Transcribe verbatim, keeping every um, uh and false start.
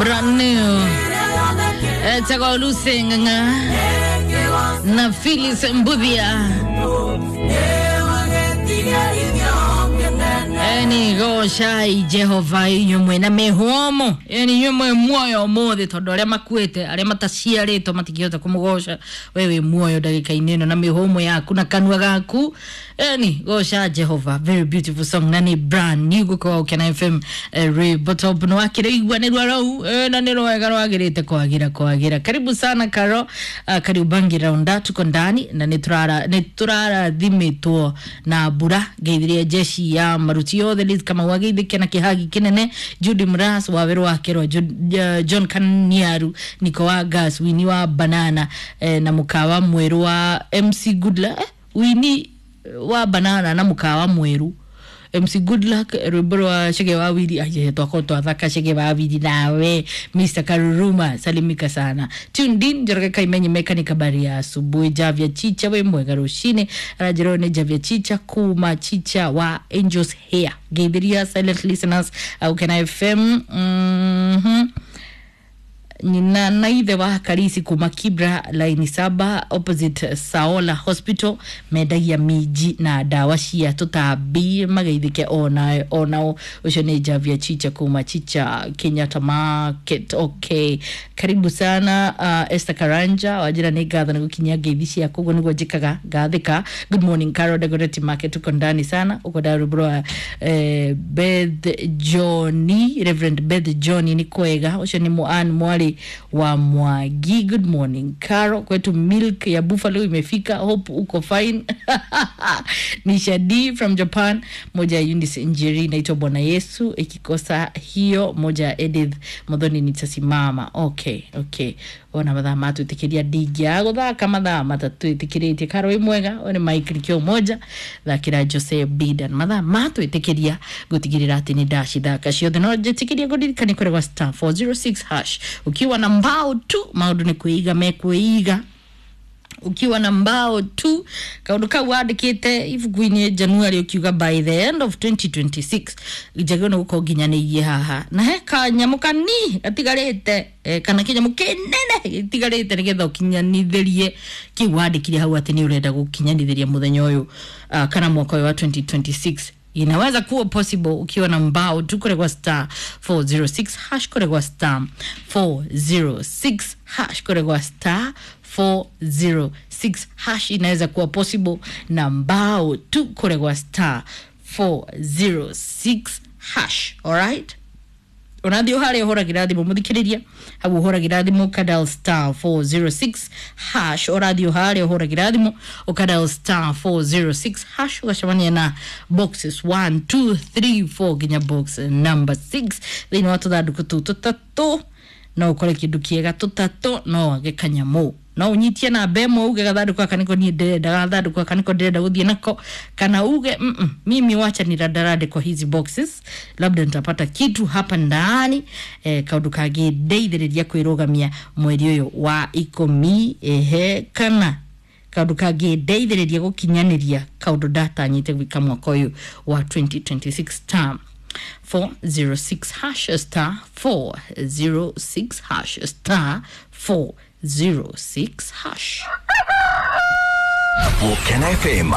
Brand new etagwo Lucy Ng'ang'a na Phyllis Mbuthia. Eni gocai Jehova inyuĩ mwĩna mĩhũmũ, eni inyuĩ mwĩ muoyo ũmũthĩ, tondũ arĩa makuĩte, arĩa mataciarĩtwo matingĩhota kũmũgoca. We wĩ muoyo ndagĩka-inĩ ĩno na mĩhũmũ yaku na kanua gaku, eni goca Jehova. Very beautiful song na nĩ brand new gũkorwo Ũkena F M, eh, rwĩmbo top nĩ wakĩrĩigua nĩ rwa rau, eh, na nĩ rwega rwagĩrĩte kwagĩra kwagĩra. Karibu sana Karo, uh, Kariubangi Raunda, tuko ndani na nĩ tũrara nĩ tũrarathimĩtwo na mbura. Ngeithirie jeshi ya maruti yothe, Liz Kamau ageithĩke na kĩhagi kĩnene, Judy Mras wa werũ wa kerwa, John, uh, John Kaniaru, Niko wa Gas, Wini wa Banana, eh, na mũkawa mwerũ wa M C Goodluck, eh, Wini wa Banana na mũkawa mwerũ M C Goodluck, rwĩmbo rwa Chege wa Wili aje twako twathaka Chege wa Wili. Nawe Mister Karuruma, salimika sana. Tuned in Njoroge Kaimenyi mechanic, habari ya asubuhi. Javia Chicha, we mwega rushine arajero ni Javia Chicha kuma Chicha wa Angels Hair. Geithiria silent listeners au Kena F M. mhm nyina na ithe wa Karisi kuma Kibra laini saba opposite Saola Hospital, mendagia minji na ndawa cia tũtambi, mageithĩke ona onao. Ũcio nĩ Javia Chicha kuma Chicha Kenyatta Market. Okay, karibu sana. uh, Esther Karanja wanjĩra nĩ ngatho nĩ gũkinyia ngeithi ciaku, ũguo nĩguo njĩkaga ngathĩka. Good morning Carol Dagoretti Market, tuko ndani sana. Ũkwenda rwĩmbo rwa eh, Beth Johnny, Reverend Beth Johnny, nĩ kwega. Ũcio nĩ Moan Mwari wa Mwangi. Good morning Caro, kwetu milk ya Buffalo imefika, hope uko fine. Ni Shadi from Japan. Moja ya Eunice Njeri naitwa Bwana Yesu, ikikosa hiyo moja ya Edith Muthoni nitasimama. Okay, okay, ona mathaa matwĩtĩkĩria ndingĩagũthaka mathaa matatwĩtĩkĩrĩtie. Karo wĩ mwega, ũyũ nĩ Mike Likio moja thakĩra Jose Bidan. Mathaa matwĩtĩkĩria gũtigĩrĩra atĩ nĩ ndacithaka ciothe, no njĩtĩkĩria kũririkania kũrĩ gwa star four zero six hash. Ukiwa na mbao tu maũndũ nĩ kwĩiga mekwĩiga. Ukiwa na mbao tu, kaundu kau wandikite ibuku-inĩ January ukiuga by the end of twenty twenty-six njagĩrĩirwo nĩ gũkorwo nginyanĩirie haha na he kanyamũ kani gatigarĩte, eh, kana kĩnyamũ kĩnene gĩtigarĩte nĩgetha ũkinyanithĩrie kĩu wandĩkire hau atĩ nĩ ũrenda gũkinyanithĩria mũthenya ũyũ, uh, kana mwaka ũyũ wa twenty twenty-six. Inaweza kuwa possible ukiwa na mbao tu kule kwa star four zero six hash, kule kwa star four zero six hash, kule kwa star four zero six hash. Inaweza kuwa possible na mbao tu kule kwa star four zero six hash. Alright, unathi haria ũhũragĩra thimũ, mũthikĩrĩria hau ũhũragĩra thimũ ũkadial star four zero six hash. Ũrathiĩ haria ũhũragĩra thimũ ũkadial star four zero six hash, ũgacemania na boxes one two three four nginya box number six. Thĩinĩ wa tũthandũkũ tũu tũtatũ no ũkore kĩndũ kĩega, tũtatũ no wage kanyamũ, no ũnyitie namba ĩmwe uge gathandũkũ gaka nĩko niĩ ndĩrenda, gathandũkũ gaka nĩko ndĩrenda gũthiĩ nako, kana uge mm -mm, mimi wacha nirandarande kwa hizi boxes, labda nitapata kitu hapa ndani, eh, kaũndũ kangĩndeithĩrĩria kwĩrũgamia mweri ũyũ wa ikũmi, ehe, kana kaũndũ kangĩndeithĩrĩria gũkinyanĩria kaũndũ ndatanyĩte gwĩka mwaka ũyũ wa twenty twenty-six. Star four zero six hash, star four zero six hash, star four zero six hash. Ũkena F M.